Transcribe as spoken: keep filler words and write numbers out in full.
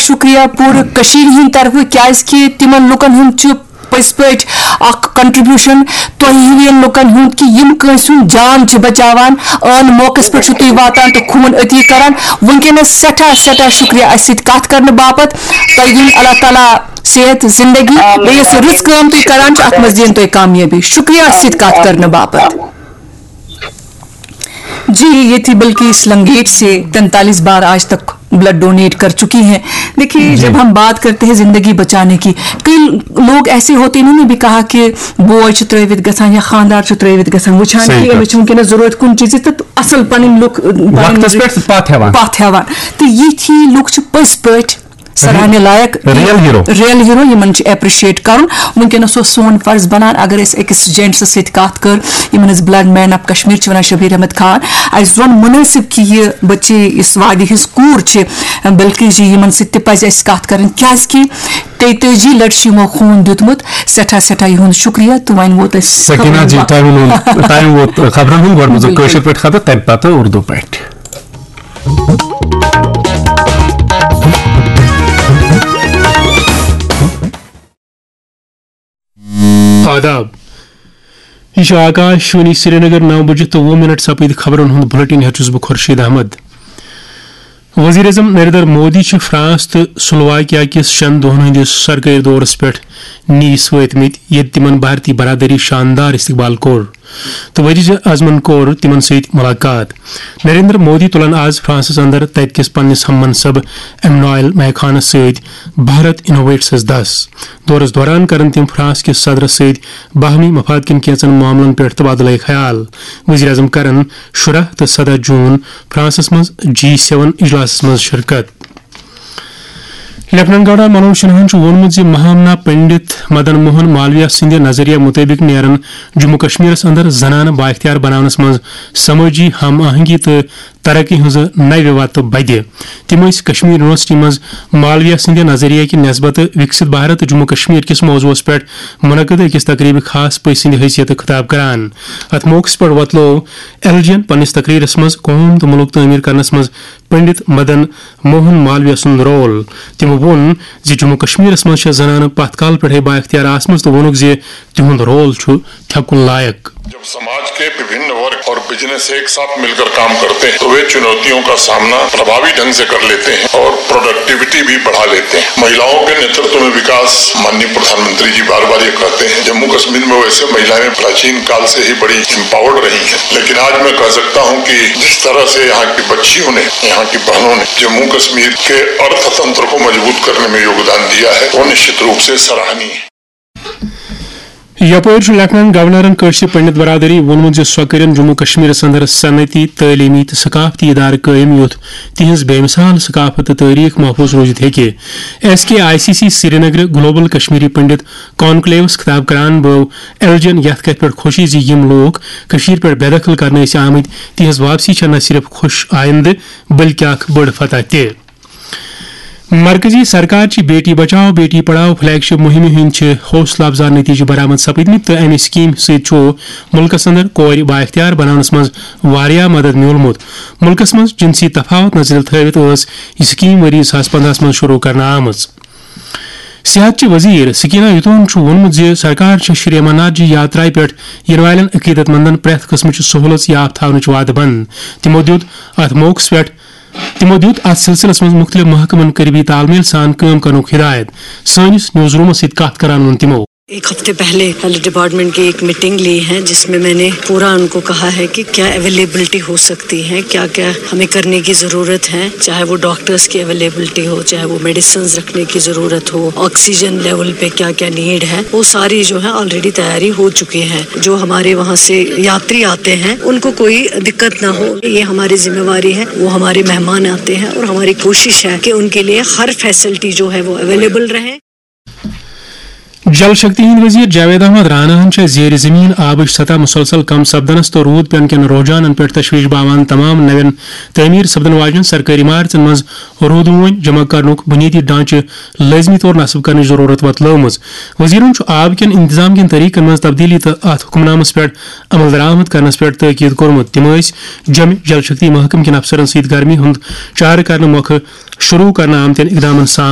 شُکریہ پوٗرٕ کٔشیٖرِ ہِنٛدِ طرفہٕ، کیٛازِ کہِ تِمن لُکن ہُنٛد چھُ پٔزۍ پٲٹھۍ اکھ contribution تۄہہِ ہِوٮ۪ن لُکن ہُنٛد، کہِ یِم کٲنٛسہِ ہُنٛد جان چھِ بچاوان۔ عٲن موقعس پٮ۪ٹھ چھِو تُہۍ واتان تہٕ خوٗن عطیہ کران۔ وٕنکیٚنس سٮ۪ٹھاہ، سٮ۪ٹھاہ شُکریہ اَسہِ سۭتۍ کَتھ کرنہٕ باپتھ۔ تۄہہِ دِیِن اللہ تعالیٰ صحت، زندگی، بیٚیہِ یۄس یہِ رٕژ کٲم تُہۍ کران چھِو، اَتھ منٛز دِیِن تۄہہِ کامیٲبی۔ شُکریہ اَسہِ سۭتۍ کَتھ کرنہٕ باپتھ۔ جی، یہ थी بلقیس لنگیٹ سے، تینتالیس بار آج تک بلڈ ڈونیٹ کر چکی ہیں۔ دیکھیے، جی۔ جب ہم بات کرتے ہیں زندگی بچانے کی، کئی لوگ ایسے ہوتے ہیں، انہوں نے بھی کہا کہ بوے چھُ ترٲوِتھ گژھان یا خاندار چھُ ترٲوِتھ گژھان، وٕچھان صحیح کہِ کتھ۔ أمِس چھُ وٕنکیٚنَس ضروٗرت کُنہِ چیٖزٕچ، تہٕ اَصٕل پَنٕنۍ لُکھ، پَنٕنۍ وقتس لُکھ پٮ۪ٹھ پتھ ہٮ۪وان۔ پتھ ہٮ۪وان۔ تہٕ یِتھی لُکھ چھِ پٔزۍ پٲٹھۍ سراہنہِ لایق، real hero۔ Real hero، یِمن چھُ appreciate کرُن۔ وٕنکیٚنَس اوس سون فرض بنان، اگر أسۍ أکِس جینٹسس سۭتۍ کتھ کٔر، یِمن أسۍ بلڈ مین آف کشمیر چھِ ونان، شبیر احمد خان، اَسہِ زون مُنٲسِب کہِ یہِ بچی، یُس وادی ہٕنٛز کوٗر چھِ، بلکیس جی، یِمن سۭتۍ تہِ پزِ اَسہِ کتھ کرٕنۍ، کیازِ کہِ تیتٲجی لٹہِ چھُ یِمو خوٗن دیُتمُت۔ سٮ۪ٹھاہ، سٮ۪ٹھاہ یِہُنٛد شُکریہ۔ تہٕ وۄنۍ ووت اَسہِ سکینہ خبرن جی، وقت۔ Time ووت، time ووت خبرن ہُنٛد۔ گۄڈٕ بوزو بِلکُل۔ کٲشِر پٲٹھۍ خبر، تَمہِ پتہٕ اردو پٲٹھۍ۔ آداب۔ یہ چھُ آکاش وانی سرینگر، نو بجے تہٕ وُہ منٹ سپٕدۍ خبرن ہُنٛد بلیٹن ہیتھ چھُس بہٕ خورشید احمد۔ وزیر اعظم نریندر مودی چھُ فرانس تہٕ سلوواکیا کِس شٮ۪ن دۄہن ہٕنٛدِس سرکٲرۍ دورس پٮ۪ٹھ نیٖس وٲتمٕتۍ، ییٚتہِ تِمن بھارتی برادری شاندار استقبال کوٚر تہٕ وزیر اعظمن کوٚر تِمن سۭتۍ ملاقات۔ نریندر مودی تُلن آز فرانسس اندر تتہِ کِس پننِس ہم منصب ایمنوئل میکھانس سۭتۍ بھارت انوویٹسس دس۔ دورس دوران کرن تِم فرانس کِس صدرس سۭتۍ باہمی مفاد کٮ۪ن کینٛژن معاملن پٮ۪ٹھ تبادلہٕ خیال۔ وزیر اعظم کرن شُراہ تہٕ سداہ جون فرانسس منٛز جی سیون اجلاسس منٛز شرکت۔ لیفٹیننٹ گورنر منوج سنہاہن چھُ ووٚنمُت زِ مہامنا پنڈت مدن موہن مالویہ سٕنٛدِ نظریہ مُطٲبِق نیرن جموں کشمیرس اندر زنانہٕ بااختیار بناونس منٛز سمٲجی ہم آہنگی تہٕ ترقی ہٕنٛزٕ نوِ وتہٕ بدِ۔ تِم ٲسۍ کشمیر یونیورسٹی منٛز مالویہ سٕنٛدِ نظریہ کہِ نسبتہٕ وکست بھارت جموں کشمیر کِس موضوعس پٮ۪ٹھ منعقد أکِس تقریبہِ خاص پٔژھۍ سٕنٛدِ حیثیتہٕ خطاب کران۔ اتھ موقعس پٮ۪ٹھ وۄتلوو ایل جی ین پننِس تقریرس منٛز قوم تہٕ مُلک تعمیر کرنس منٛز پنڈت مدن موہن مالویہ سُنٛد رول۔ تِمو ووٚن زِ جموں کشمیرس منٛز چھےٚ زنانہٕ پتھ کال پٮ۪ٹھے بااختیار آسمٕژ تہٕ ووٚنُکھ زِ تِہُنٛد رول چھُ تھٮ۪کُن لایق۔ जब समाज के विभिन्न वर्ग और बिजनेस एक साथ मिलकर काम करते हैं, तो वे चुनौतियों का सामना प्रभावी ढंग से कर लेते हैं और प्रोडक्टिविटी भी बढ़ा लेते हैं। महिलाओं के नेतृत्व में विकास, माननीय प्रधानमंत्री जी बार बार ये कहते हैं, जम्मू कश्मीर में वैसे महिलाएं प्राचीन काल से ही बड़ी एम्पावर्ड रही हैं, लेकिन आज मैं कह सकता हूं कि जिस तरह से यहाँ की बच्चियों ने, यहाँ की बहनों ने जम्मू कश्मीर के अर्थतंत्र को मजबूत करने में योगदान दिया है, वो निश्चित रूप से सराहनीय है। یپٲرۍ چھُ لیفٹیننٹ گورنرن کٲشرِ پنڈت برادری ووٚنمُت زِ سۄ کٔرِن جموں کشمیرس اندر صنعتی، تعلیمی تہٕ ثقافتی ادارٕ قٲیِم، یُتھ تِہنٛز بے مثال ثقافت تہٕ تٲریخ محفوظ روٗزِتھ ہیٚکہِ۔ S K I C C Srinagar global Kashmiri Pandit کانکلیوس خطاب کران بٲو ایل جی ین یتھ کتھِ پٮ۪ٹھ خوشی زِ یِم لوٗکھ کٔشیٖرِ پٮ۪ٹھ بے دخل کرنہٕ ٲسۍ آمٕتۍ، تِہنٛز واپسی چھےٚ نہ صرف خوش آیندٕ، بلکہِ اکھ بٔڑ فتح تہِ۔ مرکزی سرکار چہِ بیٹی بچاؤ بیٹی پڑھاؤ فلیگ شپ مہمہِ ہٕنٛدۍ چھِ حوصلہٕ افزا نتیجہٕ برآمد سپدمٕتۍ تہٕ امہِ سکیمہِ سۭتۍ چھُ مُلکس اندر کورِ بااختیار بناونس منٛز واریاہ مدد میوٗلمُت۔ مُلکس منٛز جنسی تفاوت نظرِ تھٲوِتھ ٲس یہِ سکیٖم ؤری زٕ ساس پندہَس منٛز شروع کرنہٕ آمٕژ۔ صحت چہِ وزیر سکینہ یتون چھُ ووٚنمُت زِ سرکار چھےٚ شری امرناتھ جی یاترایہِ پٮ۪ٹھ یِنہٕ والٮ۪ن عقیدت مندن پرٛٮ۪تھ قٕسمٕچ سہولژ یافتہٕ تھاونٕچ وعدٕ بنٛد۔ تِمو دیُت اتھ موقعس پٮ۪ٹھ تِمو دیُت اتھ سلسلس منٛز مُختٔلِف محکمن قریبی تال میل سان کٲم کرنُک ہدایت۔ سٲنِس نیوز رومس سۭتۍ کتھ کران ووٚن تِمو۔ ایک ہفتے پہلے ہیلتھ ڈپارٹمنٹ کی ایک میٹنگ لی ہے، جس میں میں نے پورا ان کو کہا ہے کہ کیا اویلیبلٹی ہو سکتی ہے، کیا کیا ہمیں کرنے کی ضرورت ہے، چاہے وہ ڈاکٹرز کی اویلیبلٹی ہو، چاہے وہ میڈیسنز رکھنے کی ضرورت ہو، آکسیجن لیول پہ کیا کیا نیڈ ہے، وہ ساری جو ہے آلریڈی تیاری ہو چکی ہے۔ جو ہمارے وہاں سے یاتری آتے ہیں، ان کو کوئی دقت نہ ہو، یہ ہماری ذمہ واری ہے۔ وہ ہمارے مہمان آتے ہیں اور ہماری کوشش ہے کہ ان کے لیے ہر فیسلٹی جو ہے وہ اویلیبل رہے۔ جل شکتی ہٕنٛدۍ وزیر جاوید احمد راناہن چھےٚ زیر زمین آبٕچ سطح مسلسل کم سپدنس تہٕ روٗد پینہٕ کٮ۪ن رجحانن پٮ۪ٹھ تشویش باوان تمام نوٮ۪ن تعمیٖر سپدن واجنٮ۪ن سرکٲرۍ عمارژن منٛز روٗدٕ وٲنۍ جمع کرنُک بُنیٲدی ڈھانچہٕ لٲزمی طور نصب کرنٕچ ضروٗرت وۄتلٲومٕژ۔ وزیرن چھُ آب کٮ۪ن انتظام کٮ۪ن طریقن منٛز تبدیلی تہٕ اتھ حکمنامس پٮ۪ٹھ عمل درآمد کرنس پٮ۪ٹھ تاکید کوٚرمُت۔ تِم ٲسۍ جوٚمہِ جل شکتی محکمہٕ کٮ۪ن افسرن سۭتۍ گرمی ہُنٛد چارٕ کرنہٕ مۄکھٕ شروٗع کرنہٕ آمتٮ۪ن اقدامن سام